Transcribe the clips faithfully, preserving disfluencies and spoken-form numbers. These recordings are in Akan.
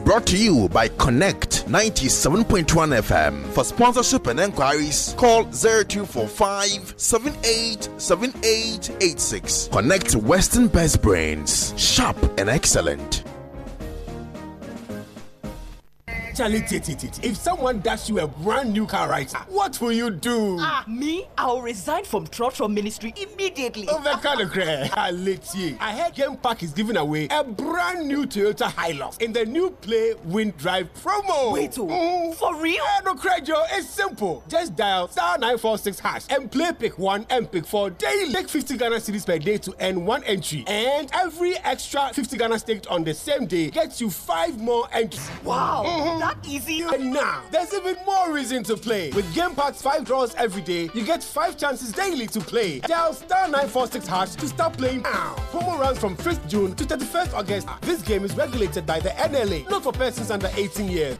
Brought to you by Connect ninety-seven point one F M. For sponsorship and enquiries, call zero two four five seven eight seven eight eight six. Connect, Western Best Brains. Sharp and excellent. Charlie, t- t- t- if someone dash you a brand new car right now, what will you do? Ah, me? I'll resign from Trotro Ministry immediately. Over. I heard Game Park is giving away a brand new Toyota Hilux in the new Play Win Drive promo. Wait, oh, mm. for real? Eh, no, Joe, it's simple. Just dial star nine four six hash and play pick one and pick four daily. Take fifty Ghana cedis per day to earn one entry. And every extra fifty Ghana staked on the same day gets you five more entries. Wow, mm-hmm. That easy? And now, there's even more reason to play. With Game Park's five draws every day, you get five chances daily to play. Dial star nine four six hash to start playing now. Promo runs from fifth June to thirty-first August. This game is regulated by the N L A, not for persons under eighteen years.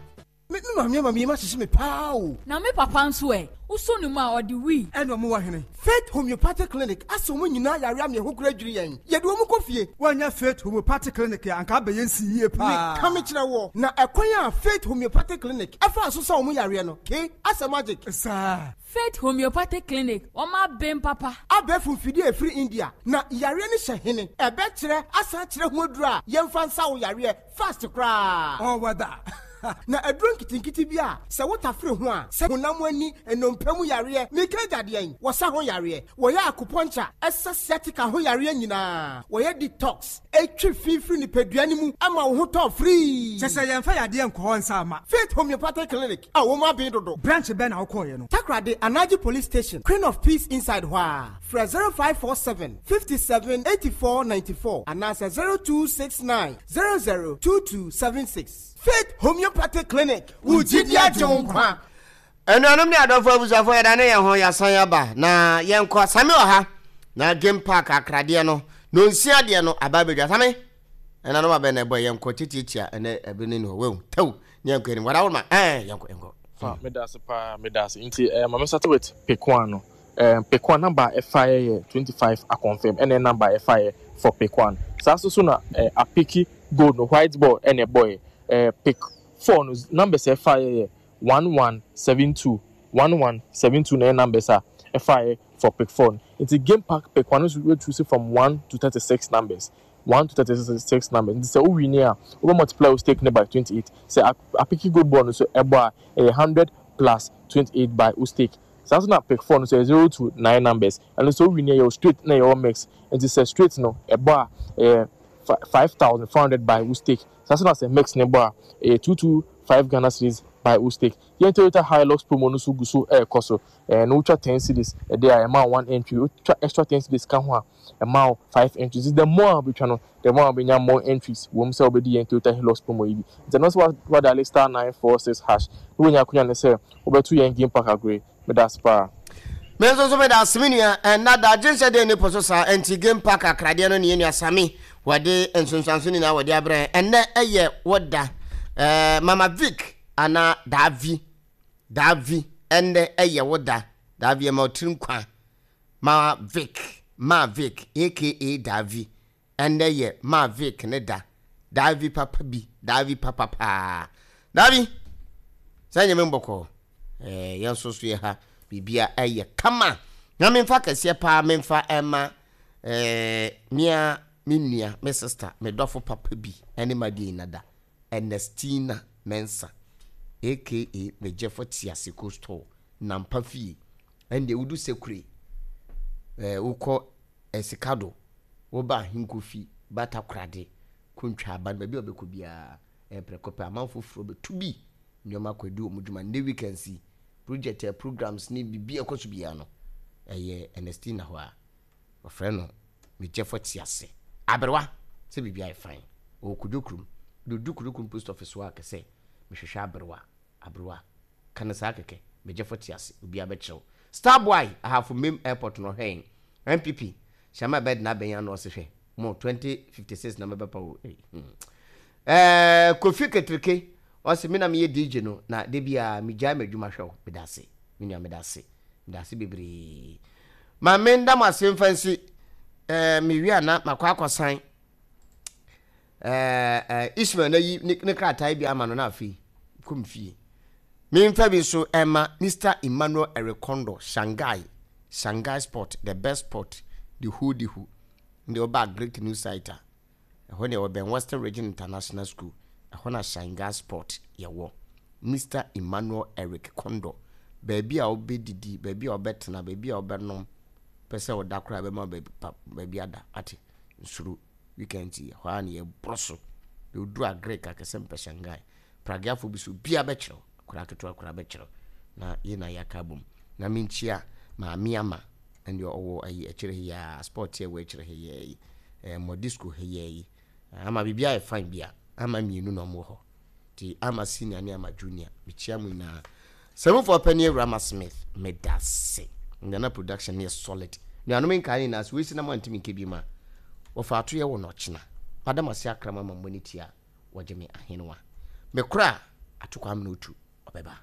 Me maame ama mi ma hyehyɛ me paa o. Na me papa nso ɛ wosɔ ne mu a ɔde wii. Ɛna ɔmo wɔ hene Faith Homeopathic Clinic asɛ ɔmo nyinaa yare ama ɛho kura dwiri yɛn, yɛde ɔmo kɔ fie. Wɔnyɛ Faith Homeopathic Clinic a anka abɛyɛ nsi yie paa. Meka me kyerɛ wɔ na ɛkwan a Faith Homeopathic Clinic ɛfa so sɛ ɔmo yareɛ no ke asɛ magic. Saa. Faith Homeopathic Clinic, wɔn abɛn papa. Abɛɛfo mfidie a ɛfiri India na yareɛ no hyɛ hene ɛbɛkyerɛ asan kyerɛ ho aduro a yɛmfa nsa wo yareɛ fast koraa. Ɔwɔ da. Na aduro nketenkete bi a sɛ wotafere ho a sɛ honam ani nnompe mu yareɛ meka agyadeɛ yi wɔsa ho yareɛ, wɔyɛ acupuncture ɛsɛ sciatica ho yareɛ nyinaa, wɔyɛ detox ɛtwi fifiri nipadua no mu ama wo ho tɔ firii. Kyɛ sɛ yɛmfa yadeɛ nkɔ hɔ nsa ama. Faith Homeopathic Clinic a wɔn abɛn dodo. Branch bɛn na wokɔɔyɛ no? Takoradi Anaji Police Station, Queen of Peace inside hɔ a frɛ zero five four seven fifty-seven eighty-four ninety-four anaasɛ zero two six nine zero zero two two seven six. Faith Homeopathic Clinic, wo gyidi agye wo nkwa. Anuanom ne adɔfo, abusuafoɔ, yɛda ne yɛn ho yɛasan aba na yɛnkɔ Same wɔ ha na Game Park akradeɛ no na onsia deɛ no aba abɛdwa. Same ɛna no wabɛn na ɛbɔ yɛnkɔ titiatia ɛnɛ ɛbi ne ne hɔ wehu tew ne yɛnkɔ anim wada woroma ɛɛ yɛnkɔ yɛnkɔ. Fa meda ase paa, meda ase. Nti eh, ma me start with pick one no. um, pick one number ɛfa yɛ yɛ twenty-five aconfirm ɛna number ɛfa yɛ for pick one. Saa nso so na eh, apick gold no, white ball ɛna ɛbɔ yɛ. eh, pick four no numbers ɛfa yɛ yɛ one one seven two, one one seven two na ɛyɛ numbers a ɛfa yɛ for pick four no. Nti Game Park pick one nso we choose from one to thirty-six numbers, one to thirty-six numbers. Nti sɛ wo win a, wobɛ multiply wo stake ne by twenty-eight. Sɛ apick gold ball no so ɛbɔ a, ɛyɛ hundred plus twenty-eight by wo stake. Saa nso na pick four no so yɛ zero to nine numbers. Ɛno nso wo win yɛ wɔ straight na ɛyɛ mix. Nti sɛ straight no ɛbɔ a, ɛyɛ five thousand four hundred by wo stake. Saa nso na sɛ mix ne bɔ a, ɛyɛ two two five Ghana cedis by wo stake. Yɛn Toyota Hilux promo no so gu so ɛɛkɔ so. Ɛɛ no wotwa ten cedis ɛde a, ɛma one entry. Wotwa extra ten cedis ka ho a, ɛma wo five entries. The more a wobɛtwa no, the more a wobɛnya more entries wɔm sɛ wobɛdi yɛn Toyota Hilux promo yi bi. Nti ɛno nso wadial star nine four six hash na wonya akonya ne sɛ wobɛto yɛn Game Park agorɔ. Meda ase paa. Me nso so meda ase, me nua. Ɛnna da agye nhyɛ deɛ ne po so saa. Nti Game Park akradeɛ no ne yɛn nua Sami wɔde nsonsanso nyinaa wɔde abrɛ. Ɛnnɛ ɛyɛ wɔda ɛɛ Mama Vic anaa Daavi Daavi, ɛnnɛ ɛyɛ wɔda Daavi ɛma ɔtiri nkwa. Ma Vic, Ma Vic A K A Daavi, ɛnnɛ yɛ Ma Vic ne da. Daavi papa bi, Daavi papa paa. Daavi sɛ nyɛ me mbɔkɔ ɛɛ yɛn nso so yɛ ha biribia ɛyɛ kama na memfa kɛseɛ paa memfa ɛma ɛɛ mea me nua, me sister, me dɔfo papa bi ɛne ma deɛ nada Ernestina Mensa A K A Megyefo Tiase Coastal Nampa fie. Ɛndeɛ wodu Sekure ɛɛ wokɔ Ɛsikado, woba Ahenkofi Batakorade Kontwa aba no baabi a wobɛkɔ biara ɛyɛ prɛko pɛ amanfo foforɔ bɛtu bi nneɛma akɔ adi wɔn dwuma. Nnɛ weekends yi project ɛ programs ne biribi a ɛkɔ so biara no ɛyɛ Ernestina hɔ a wɔfrɛ no Megyefo Tiase aberewa sɛ biribi ayɛ fine. Ɔwɔ Kodwo kurom dodu Kodwo kurom post office hɔ a kɛsɛ mehwehwɛ aberewa, aberewa ka no saa kɛkɛ. Megyefo Tiase obiara bɛkyerɛw. Starboy Ahafo Mem Airport no ɔhwɛ yɛn. N P P hyɛma ɛbɛde n'abɛn ano ɔse hwɛ mo twenty fifty-six na mɛbɛpa wo. hmm. ɛɛ kofi Ketereke ɔse me na meyɛ D J no na de bia megyae m'adwuma hwɛ wo. Meda ase, me nua, meda ase, meda ase bebree. Ma menda mo ase mfa nsi ɛɛ mewie a na makɔ akɔsan. ɛɛ ɛɛ Ishmael na yi ne ne krataa bi ama no na afei kɔm fie. Memfa bi nso ɛma Mister Emmanuel Erikondo, Shanghai, Shanghai Sport, the best sport, the who the who. Nde ɔba Greek new site a, ɛhɔ ne ɛwɔ bɛn Western Region International School, ɛhɔ na Shanghai Sport yɛwɔ. Mister Emmanuel Eric Kondo, baabi a wobɛdidi, baabi a wobɛtena, baabi a wobɛnom, pɛ sɛ ɔda koraa bɛma baabi pa baabi ada ate nsuro. Weekend yi hɔ a ne yɛborɔ so de oduru Agric akɛsɛ mpɛ Shanghai pragiafo bi so bia bɛkyerɛw akwaraa ketewa koraa bɛkyerɛw na yɛ na yɛaka bom. Na menkyia maame ama ɛne ɔwɔ ayi akyire ha yi a sport yɛ wɔ akyire ha yi yi ɛɛ modisco ha yi yi ama biribi ayɛ fine bi a ama mmienu na ɔmo wɔ hɔ nti ama senior ne ama junior, mekyia mu nyinaa. Sɛmufoɔ pɛ ne Awurama Smith, medase. Nana production ne yɛ solid. Nuanom nkaa nyinaa so wɔsi na mo antimi nkɛ bi ma wɔfa ato yɛ wɔ nɔkyena. Madam ase akrama ma mmɔ ne tia wɔgye me ahenewa mekora atokɔ amena otu ɔbɛba.